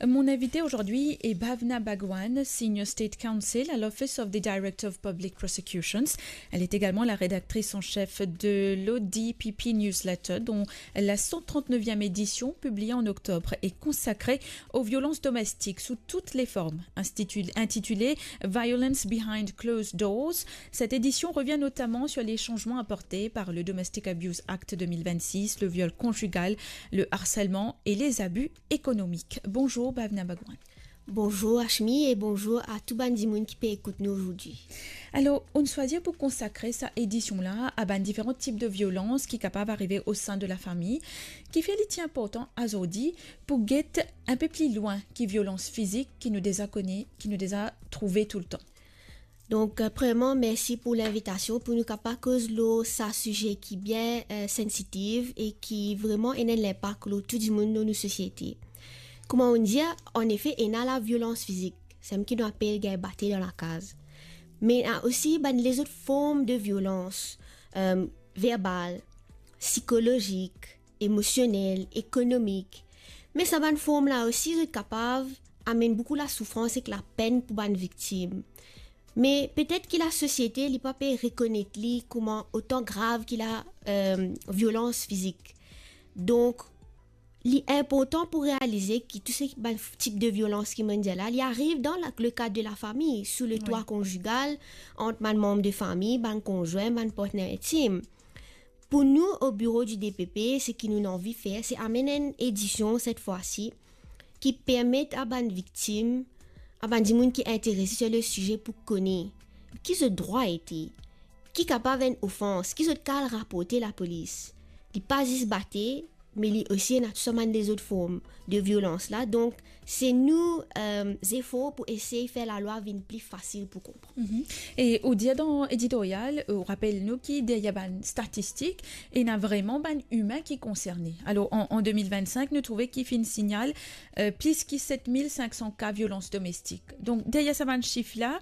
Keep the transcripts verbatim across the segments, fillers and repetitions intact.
Mon invité aujourd'hui est Bhavna Bhagwan, Senior State Counsel à l'Office of the Director of Public Prosecutions. Elle est également la rédactrice en chef de l'O D P P Newsletter, dont la cent trente-neuvième édition, publiée en octobre, est consacrée aux violences domestiques sous toutes les formes, institu-, intitulée Violence Behind Closed Doors. Cette édition revient notamment sur les changements apportés par le Domestic Abuse Act deux mille vingt-six, le viol conjugal, le harcèlement et les abus économiques. Bonjour Bhavna Bhagwan. Bonzour Ashmi e bonzour a tou bann dimoun ki pe ekout nou azordi. Alor, ou'nn swazir pou konsakre sa edision la a bann diferan tip de violans ki kapav arive o sein de la fami, kifer li ti inportan azordi pou get inpe pli lwin ki violans fizik ki nou deza kone, ki nou deza trouve toultan. Donk, euh, premierman, mersi pou linvitasion pou nou kapav koz lor sa size ki bien, euh, sensitiv e ki vreman ena enn linpak lor tou dimoun dan nou sosiete. Kouma ou'nn dir, anefe, ena laviolans fizik, samem ki nou apel gagn bate dan lakaz. Me ena osi bann lezot form de violans, euh, verbal, psikolozik, emosionel, ekonomik. Me sa bann form la osi, zot kapav amenn boukou lasoufrans ek lapenn pou bann viktim. Me petet ki lasosiete, li pa pe rekonet li kouma otan grav ki la, euh, violans fizik. Donk, li inportan pou realize ki tou se bann f-, tip de violans ki mo'nn dir la, li ariv dan la, le kad de lafami, sou le twa konjigal, ant bann manm de fami, bann konzwin, bann partner intim. Pou nou, o biro di D P P, seki nou anvi fer, se amenn enn edision, set fwa si, ki permet a bann viktim, a bann dimoun ki interese sir le size pou kone ki zot drwa ete, ki kapav enn ofans, ki zot kapav raporte lapolis. Li pa zis bate, me li osi ena tou sa bann lezot form de violans la. Donk, se nou, euh, zefor pou esey fer lalwa vinn pli fasil pou konpran. Mhm. E ou dir dan editorial, ou rapel nou ki deryer bann statistik, ena vreman bann imin ki konserne. Alor, an, an deux mille vingt-cinq, nou trouve ki finn signal, euh, plis ki sept mille cinq cents ka violans domestik. Donk, deryer sa bann sif la,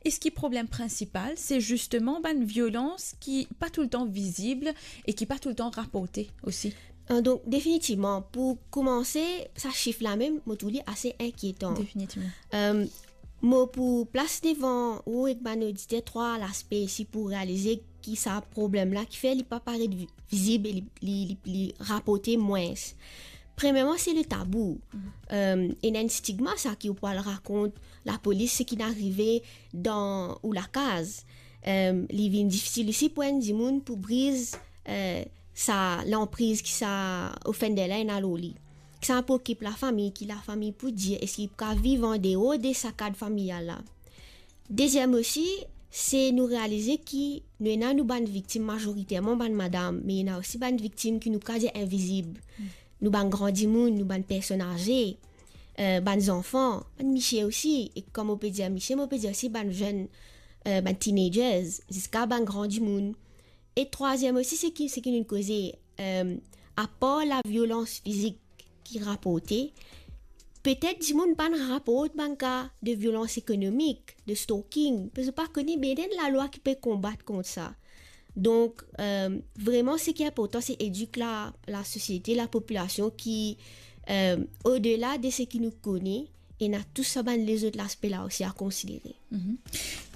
eski problem prinsipal, se zisteman bann violans ki pa toultan vizib e ki pa toultan raporte osi? Euh, donk, definitivman, pou koumanse, sa sif la mem, mo trouv li ase inkietan. Definitivman. Euh, mo pou plas devan ou ek bann oditer trwa laspe isi pou realize ki sa problem la, kifer li pa paret vi-, vizib e li, li, li, li raporte mwins. Premierman, se le tabou. Mhm. Euh, ena enn stigma sa ki ou pou al rakont lapolis seki inn arive dan ou lakaz. Euh, li vinn difisil osi pou enn dimoun pou briz, euh, sa lanpriz ki sa offender la ena lor li. Ki sa pou okip lafami, ki lafami pou dir, eski li pou kapav viv andeor de sa kad familial la. Deziem osi, se nou realize ki nou ena nou bann viktim, mazoriterman bann madam, me ena osi bann viktim ki nou kapav dir invizib. Hmm. Nou bann gran dimoun, nou bann personn aze, euh, bann zanfan, bann misie osi, e kan mo pe dir misie, mo pe dir osi bann zenn, euh, bann teenagers, ziska bann gran dimoun. E trwaziem osi, seki, seki nou koze, euh, apar laviolans fizik ki raporte, petet dimoun pa'nn raport bann ka de violans ekonomik, de stalking, parski pa kone, be ena enn lalwa ki pe konbat kont sa. Donk, euh, vreman, seki inportan, se edik la, lasosiete, lapopilasion ki, euh, odela de seki nou kone, ena tou sa bann lezot laspe la osi a konsidere. Mhm.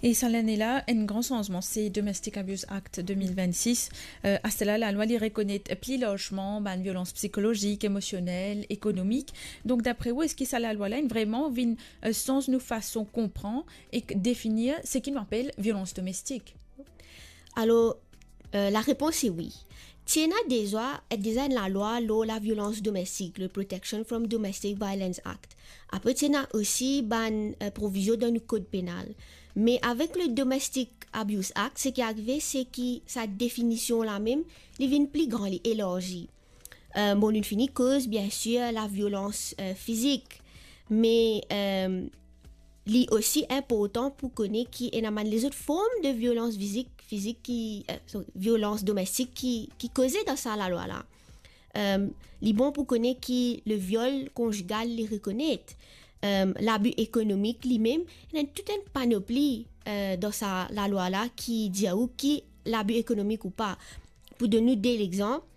E sa lane la, enn gran sanzman, se Domestic Abuse Act deux mille vingt-six. Euh, aster la, lalwa li rekonet pli larzman bann violans psikolozik, emosionel, ekonomik. Donk, dapre ou, eski sa lalwa la inn vreman vinn, euh, sanz nou fason konpran ek definir seki nou apel violans domestik? Alor, euh, larepons se wi. Ti ena deza, deza enn lalwa lor laviolans domestik, le Protection from Domestic Violence Act. Apre, ti ena osi bann, euh, provizion dan nou kod penal. Me avek le Domestic Abuse Act, seki arive, seki sa definision la mem, li vinn pli gran, li elarzi. Euh, bon, nou fini koz, biensir, laviolans, euh, fizik. Me, euh, li osi inportan pou kone ki ena bann lezot form de violans fizik, fizik ki, euh, sorry, violans domestik ki, ki koze dan sa lalwa la. Euh, li bon pou kone ki le viol konjigal li rekonet. Euh, labi ekonomik li mem, ena tout enn panopli, euh, dan sa lalwa la ki dir ou ki labi ekonomik ou pa. Pou donn nou de lexanp,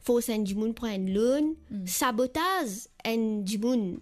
fors enn dimoun pran enn loan, hmm, sabotaz enn dimoun,